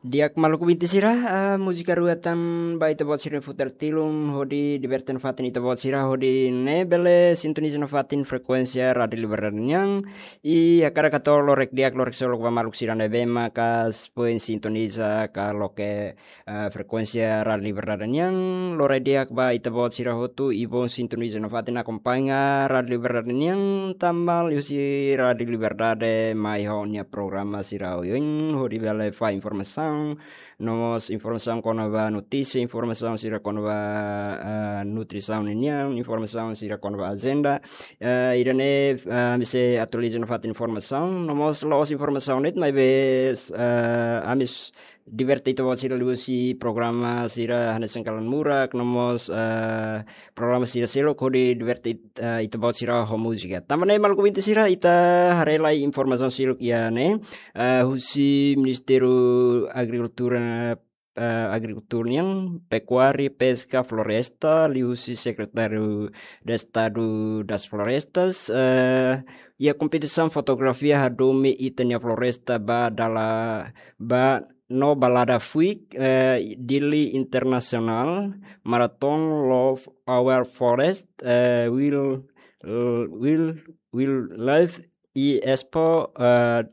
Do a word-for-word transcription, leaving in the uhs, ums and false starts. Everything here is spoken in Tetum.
Di'ak maluk ouvinte sira, ah, múzika rua tan ba ita-boot sira-nia futar tilun hodi diverte nafatin ita-boot sira hodi ne'e bele sintoniza nafatin frekuénsia Rádiu Liberdade nian. I hakarak hato'o lorek di'ak lorek seluk ba maluk sira ne'ebé maka foin sintoniza ka loke, ah, frekuénsia Rádiu Liberdade nian. Lorek di'ak ba ita-boot sira hotu i bom sintoniza nafatin akompaña Rádiu Liberdade nian, tanba liuhusi Rádiu Liberdade mai ho nia programa sira oioin hodi bele fó informasaun, no mós informasaun kona-ba notísia, informasaun sira kona-ba, ah, nutrisaun nian, informasaun sira kona-ba ajenda. Ah, ida-ne'e, ah, ami sei atualiza nafatin informasaun, no mós la'ós informasaun de'it, maibé, ah, ami s-, diverte ita-boot sira liuhusi programa sira hanesan Kalan Murak, no mós, ah, programa sira seluk hodi diverte it-, ah, ita-boot sira ho múzika. Tanba ne'e maluk ouvinte sira, ita haree lai informasaun seluk iha ne'e, ah, husi Ministériu Agrikultura, ah, Agrikultura nian, Pekuária, Peska, Floresta, liuhusi Sekretáriu Estadu das Florestas, ah, iha kompetisaun fotografia hadomi ita-nia floresta ba dala, ba no balada fuik, eh, Dili International Marathon Love Our Forest, eh, Will, Will, Wildlife i Expo, eh,